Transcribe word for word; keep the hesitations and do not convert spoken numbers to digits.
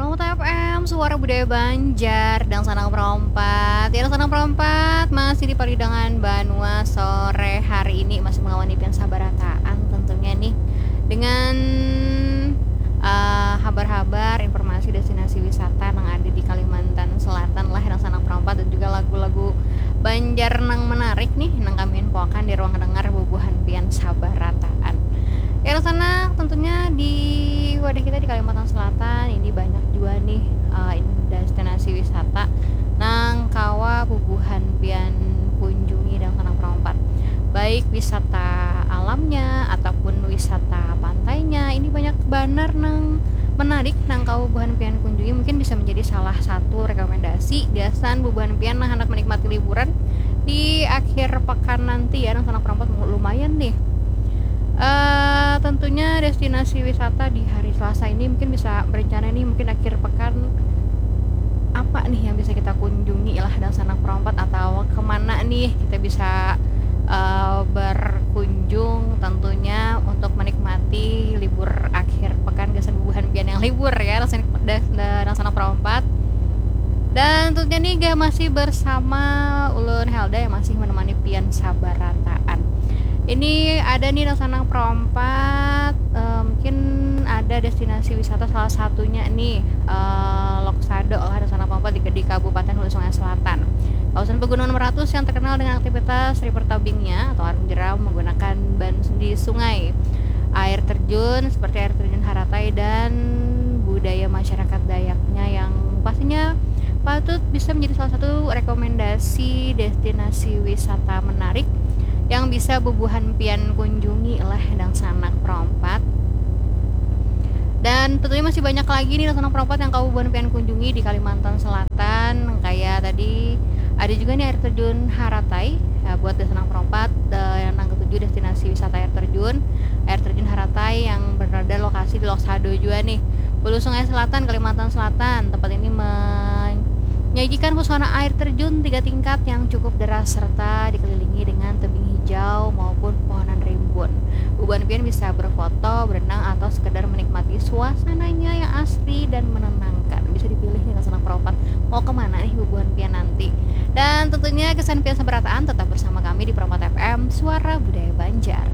F M, Suara Budaya Banjar, Dangsanak Perompat. Ya, Dangsanak Perompat masih di paridangan banua sore hari ini, masih mengawani pian sabarataan tentunya nih, dengan eh, habar-habar, informasi destinasi wisata yang ada di Kalimantan Selatan lah, Dangsanak Perompat, dan juga lagu-lagu Banjar nang menarik nih, nang kami infoakan di ruang dengar bubuhan pian sabarataan. Ya, Dangsanak, tentunya di wadah kita di Kalimantan Selatan ini banyak jua nih eh, destinasi wisata nang kawa bubuhan pian kunjungi, Dangsanak Perompat. Baik wisata alamnya ataupun wisata pantainya, ini banyak banar nang menarik nang kawa bubuhan pian kunjungi. Mungkin bisa menjadi salah satu rekomendasi gasan bubuhan pian nang handak menikmati liburan di akhir pekan nanti ya, Dangsanak Perompat, lumayan nih. Eh, tentunya destinasi wisata di hari Selasa ini mungkin bisa berencana nih, mungkin akhir pekan apa nih yang bisa kita kunjungi lah, Dangsanak Perompat, atau kemana nih kita bisa eh, berkunjung tentunya untuk menikmati libur akhir pekan gasan bubuhan pian yang libur ya, Dangsanak, Dangsanak Perompat. Dan tentunya nih gah masih bersama ulun Helda yang masih menemani pian sabarataan. Ini ada nih, Dangsanak Perompat, eh, mungkin ada destinasi wisata, salah satunya nih eh, Loksado lah, Dangsanak Perompat, di, di Kabupaten Hulu Sungai Selatan. Kawasan Pegunungan Meratus yang terkenal dengan aktivitas river tubingnya atau arung jeram menggunakan ban di sungai, air terjun seperti air terjun Haratai, dan budaya masyarakat Dayaknya yang pastinya patut bisa menjadi salah satu rekomendasi destinasi wisata menarik yang bisa bubuhan pian kunjungi lah, Dangsanak Perompat. Dan tentunya masih banyak lagi nih, Dangsanak Perompat, yang kawa bubuhan pian kunjungi di Kalimantan Selatan. Kayak tadi ada juga nih air terjun Haratai. Ya, buat Dangsanak Perompat, eh, yang nang ketuju destinasi wisata air terjun, air terjun Haratai yang berada lokasi di Loksado juga nih, Hulu Sungai Selatan, Kalimantan Selatan. Tempat ini menyajikan pesona air terjun tiga tingkat yang cukup deras serta dikelilingi dengan tebing hijau maupun pohonan rimbun. Bubuhan pian bisa berfoto, berenang, atau sekedar menikmati suasananya yang asri dan menenangkan. Bisa dipilih nih, Dangsanak Perompat, mau kemana nih bubuhan pian nanti. Dan tentunya gasan pian sabarataan, tetap bersama kami di Perompat F M, Suara Budaya Banjar.